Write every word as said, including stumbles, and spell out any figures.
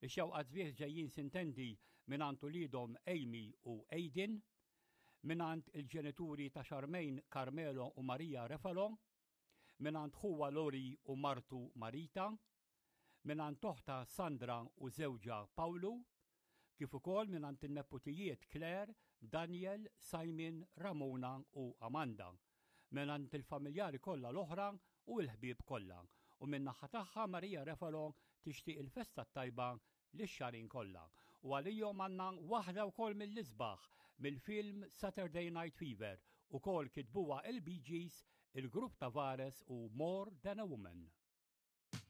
Ix-xewqat sbieħ ġejjin, sintendi, mingħand uliedhom Amy u Aiden, mingħand il-ġenituri ta' Charmaine, Carmelo u Maria Refalo, mingħand ħuha Lori u martu Marita, mingħand oħtha Sandra u żewġha Pawlu, kif ukoll mingħand in-neputijiet Claire, Daniel, Simon, Ramona u Amanda, mingħand il-familjari kollha l-oħra u l-ħbieb kollha. U min-naħa tagħha Maria Refalo tixtieq il-festa tajba lix-Xagħrin kollha. U għalihom għandna waħda wkoll mill-isbaħ mill-film Saturday Night Fever, ukoll kitbuha il-Bee Gees, il-grupp Tavares u More Than a Woman.